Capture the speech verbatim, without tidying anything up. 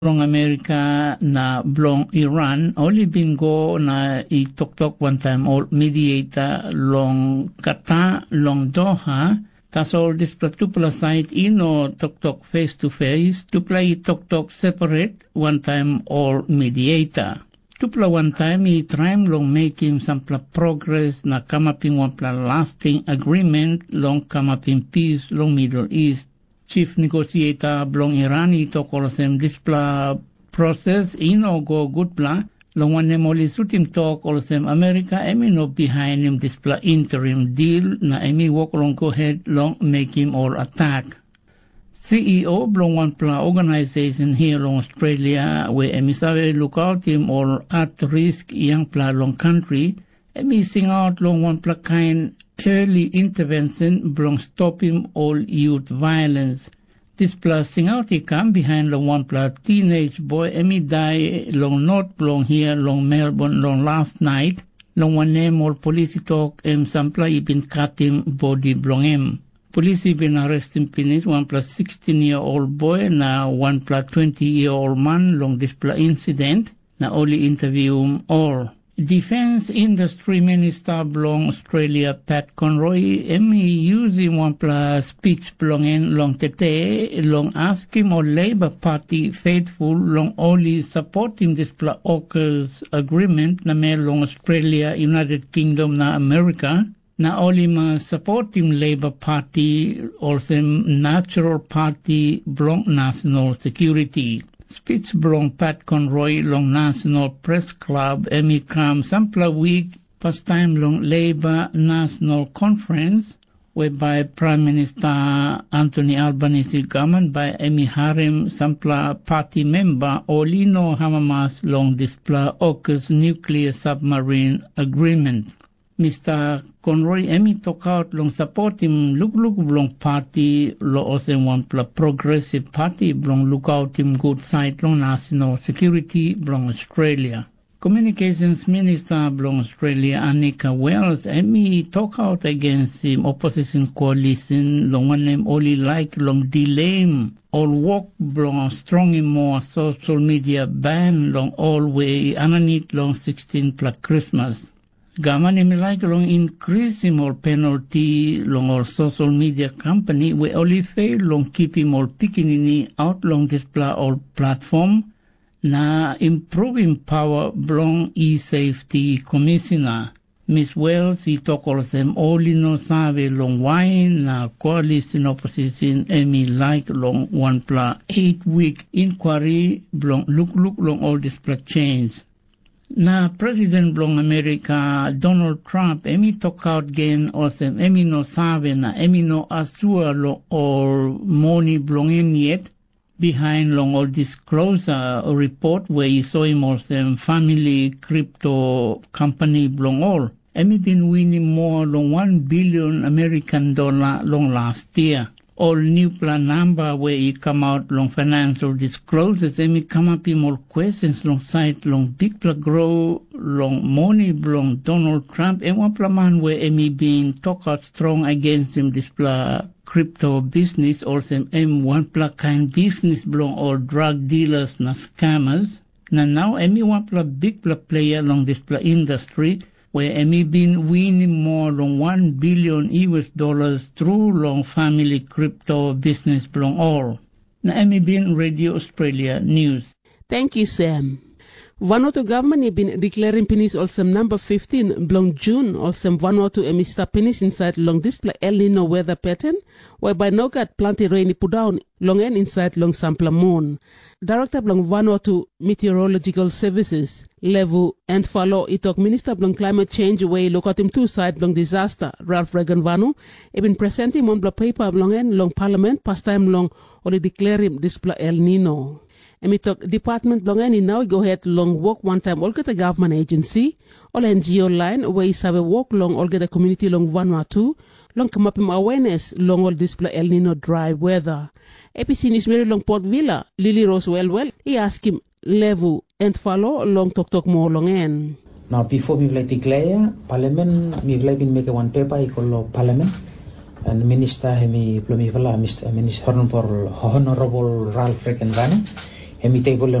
bilong Amerika na bilong Iran ol i bin go na i toktok wantaim ol mediator long Qatar long Doha, tasol dispela tupela sait i no toktok face to face, tupela i toktok separat wantaim ol mediator. Tupela wantaim i traim long mekim sampela progres na kamapim wanpela lasting agreement long kamapim pis long Middle East. Chief negosieta bilong Iran i tok olsem dispela proses i no go gutpela, long wanem ol i sutim tok olsem Amerika em i no bihainim dispela interim deal na em i wok long go het long mekim ol atak. C E O bilong wanpela organisation hia long Australia we em i save lukautim ol at risk yangpela long kantri, em i singaut long wanpela kain early intervention bilong stopim ol youth violence. Dispela singaut i kam bihain long wanpela teenage boy em i dai long not bilong hia long Melbourne long last night, long wanem ol polis i tok em sampela i bin katim bodi bilong em. Polis i bin arrestim pinis wanpela sixteen year old boy na wanpela twenty year old man long dispela insident, na ol i intervium ol. Defense Industry Minister bilong Australia, Pat Conroy, em i yusim wanpela speech bilong en long tete long askim ol Labor Party faithful long ol i supportim dispela AUKUS agreement namel long Australia, United Kingdom na Amerika, na ol i mas sapotim Leiba Pati olsem natural pati bilong nasional sekuriti. Spits bilong Pat Conroy long National Press Club em i kam sampela wik pastaim long Leiba Nasional Konferens, whereby Prime Minister Anthony Albanese government bai em i harim sampela pati memba ol i no amamas long dispela AUKUS nuclear submarine agreement. Mister Conroy em i tokaut long sapotim lukluk bilong pati long olsem wanpela progresiv pati bilong lukautim gut sait long nasional sekuriti bilong Australia. Communications Minister bilong Australia, Anika Wells, em i tokaut agensim opposition koalisin long wanem ol i laik long dileim ol wok bilong strongim moa social media ban long ol we i aninit long sixteen-pela Krismas. Gavman em i laik long inkrisim ol penalti long ol social media company we ol i feil long kipim ol pikinini aut long dispela ol platform, na improvim pawa bilong e-safety komisina. Miss Wells i tok olsem ol i no save long wain na koalisin opposisin em i laik long wanpela eight wik inkwari bilong lukluk long ol dispela chens. Na President bilong Amerika, Donald Trump, em i tokaut gen olsem em i no save na em i no asua long ol moni bilong en yet, bihain long ol disclosure report we i soim olsem famili kripto kompani bilong ol, em i bin winim moa long wan bilion American dola long last yia. Ol nupela namba we i kamap long financial disclosures em i kamapim ol questions long sait long bikpela gro long moni bilong Donald Trump, em wanpela man we em i bin tokaut strong agensim dispela kripto bisnis olsem em wanpela kain bisnis bilong ol drug dealers na scammers. Na nau em i wanpela bikpela pleiya long dispela industri, we em i bin winim moa long wan bilion U S dollars tru long famili kripto bisnis bilong ol. Na em i bin Radio Australia News. Tenkyu, Sem. Vanuatu gavman i bin deklerim pinis olsem namba fiftin bilong Jun olsem Vanuatu em i stap pinis insait long dispela El Nino weda peten, whereby no gat planti ren i pundaun long en insait long sampela mun. Direkta bilong Vanuatu Meteorological Services, Levu Entfalo, i tok minista bilong climate change we i lukautim tu sait bilong disaster, Ralph Regenvanu, i bin presentim wanpela pepa bilong en long palament pastaim long ol i deklerim dispela El Nino. Em i tok department bilong en i nau i go het long wok wantaim olgeta gavman agensi, ol N G O lain we i save wok long olgeta komuniti long Vanuatu, long kamapim awenes long ol dispela El Nino drai weda. A B C News meri long Port Vila, Lili Ros Welwel, i askim Levu Entfalo long toktok moa long en. Na bipo mipela i declare ya, palamen mipela i bin mekim wan pepa i go long palamen. Na minista em i bilong mipela, Mista Minista Honorable, Honorable Ralph Regenvanu, em i table